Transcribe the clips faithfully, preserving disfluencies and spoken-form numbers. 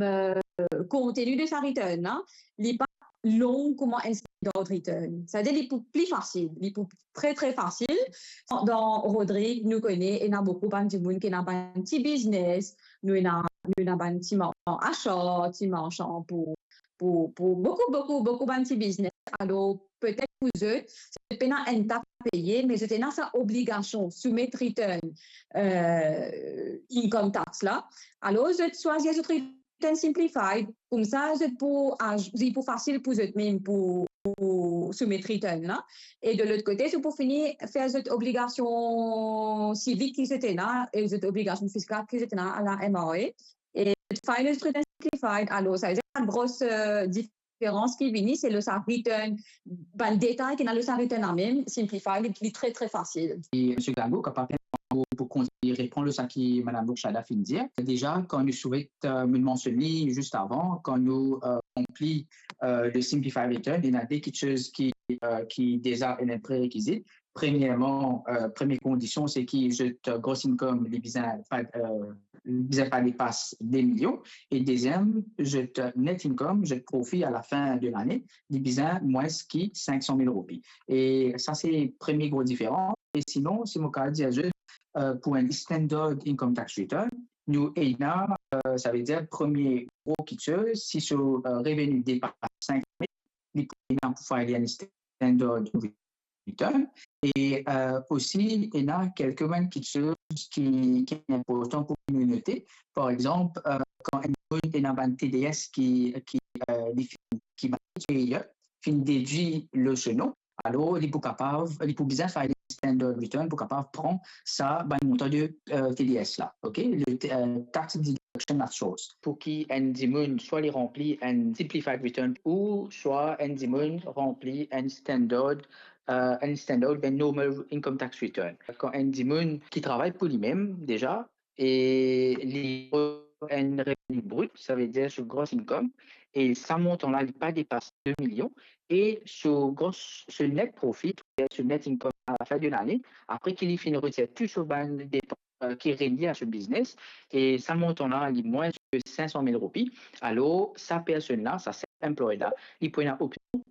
euh, konteni de sa return la, li pa long kouma enn standard return. Savedir li pou pli fasil, li pou tre, tre fasil. Dan Rodrig, nou kone, ena boukou bann dimoun ki ena bann ti biznes, nou ena, nou ena bann ti marsan asar, ti marsan pou, pou, pou boukou, boukou, boukou bann ti biznes. Alor, petet pou zot, zot pena enn tax a peye, me zot ena sa obligasion soumet return, euh, income tax la. Alor, zot swazir zot return simplified, koumsa zot pou, ah, li pou fasil pou zot mem pou, pou soumet return la. E de lot kote, zot pou fini fer zot obligasion sivik ki zot ena, e zot obligasion fiskal ki zot ena a la M R A. E file zot return simplified, alor, savedir, gro, euh, diferans ki vini, se lor sa return, bann detay ki ena lor sa return la mem, simplified, li, li tre, tre fasil. E Msye Glango, kapav pou, pou kontign reponn lor sa ki Madam Bourchada finn dir. Deza, kan nou soumet, euh, nou mansionn li zis avan, kan nou, euh, ranpli, euh, le simplified return, ena de kiksoz ki, euh, ki deza ena prerekizit. Premierman, euh, premie kondision, se ki zot, euh, gross income, li bizin pa, euh, li bizin pa depas de milion. E deziem, zot, euh, net income, zot profi a la fin de lane, li bizin mwins ki sink san mil roupi. E sa, se premie gro diferans. E sinon, si mo kapav dir zot, euh, pou enn standard income tax return, nou ena, euh, savedir premie gro kiksoz, si so, euh, reveni depas sink san mil, li pou ena pou file enn standard return. E, euh, osi, ena kelke bann kiksoz ki, ki inportan pou nou note. Par exanp, euh, kan enn dimoun ena bann T D S ki, ki, euh, li finn, ki bann peyar finn dedwir lor so nom, alor li pou kapav, li pou bizin file standard return pou kapav pran sa bann montan de, euh, T D S la, ok? Le, euh, tax deduction at source. Pou ki enn dimoun, swa li ranpli enn simplified return, ouswa enn dimoun ranpli enn standard, euh, enn standard, enn normal income tax return. Kan enn dimoun ki travay pou limem deza, e li enn reveni brit, savedir so gross income, e sa montan la, li pa depas de milion, e so gross, so net profit, so net income a la fin de lane, apre ki li finn retir tou so bann depans, euh, ki relie a so biznes, e sa montan la, li mwins ki sink san mil roupi, alor sa personn la, sa self-employed la, li pou ena opsion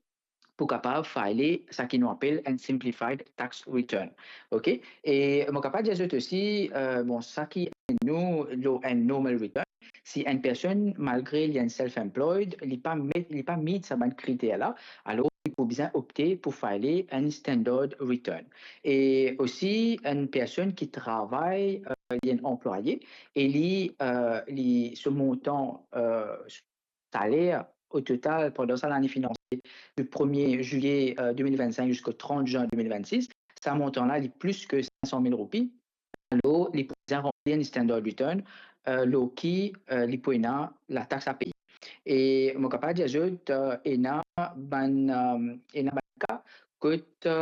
pou kapav file sa ki nou apel enn simplified tax return. Ok? E mo kapav dir zot osi, euh, bon, sa ki nou, lor enn normal return, si enn personn, malgre li enn self-employed, li pa met, li pa meet sa bann kriter la, alor li pou bizin opte pou file enn standard return. E osi, enn personn ki travay, euh, li enn anplwaye, e li, euh, li, so montan, euh, saler o total pandan sa lane finansie, du premier juillet, euh, deux mille vingt-cinq jusqu'au trente juin deux mille vingt-six, sa montan la, li plis ki sink san mil roupi, alor li pou bizin ranpli enn standard return, euh, lor ki, euh, li pou ena latax a peye. E mo kapav dir zot, euh, ena bann, euh, ena bann ka kot, euh,